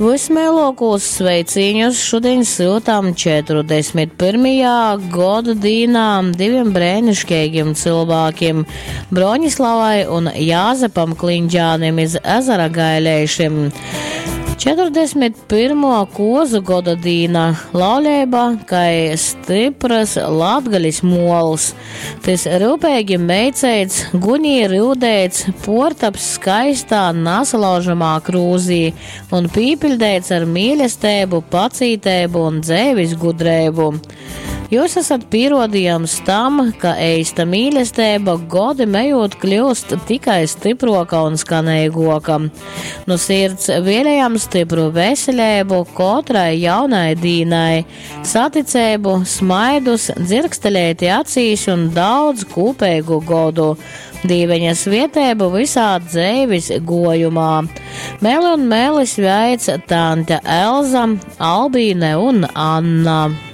Vysmeiluokūs sveicīņus šudiņ syutam 41. goda dīnā divim breiniškeigim cylvākim, Broņislavai un Jāzepam Klindžānim iz Ezera Gaileišim. 41. kuozu goda dīna, lauleiba kai styprys Latgalis muols. Tys ryupeigi meiceits, gunī ryudeits, puortaps skaistā, nasalaužamā krūzī un pīpiļdeits ar mīlesteibu, pacīteibu un dzeivis gudreibu. Jūs esat pīruodījums tam, ka eista mīlesteiba godim ejūt kļūst tikai stypruoka un skaneiguoka. Nu sirds vēlējam stypru veseleibu kotrai jaunai dīnai, saticeibu, smaidus, dzirksteleiti acīs un daudz kūpeigu godu. Dīveņa svieteibu visā dzeivis gojumā. Mēli un mēli sveic tante Elza, Albīne un Anna.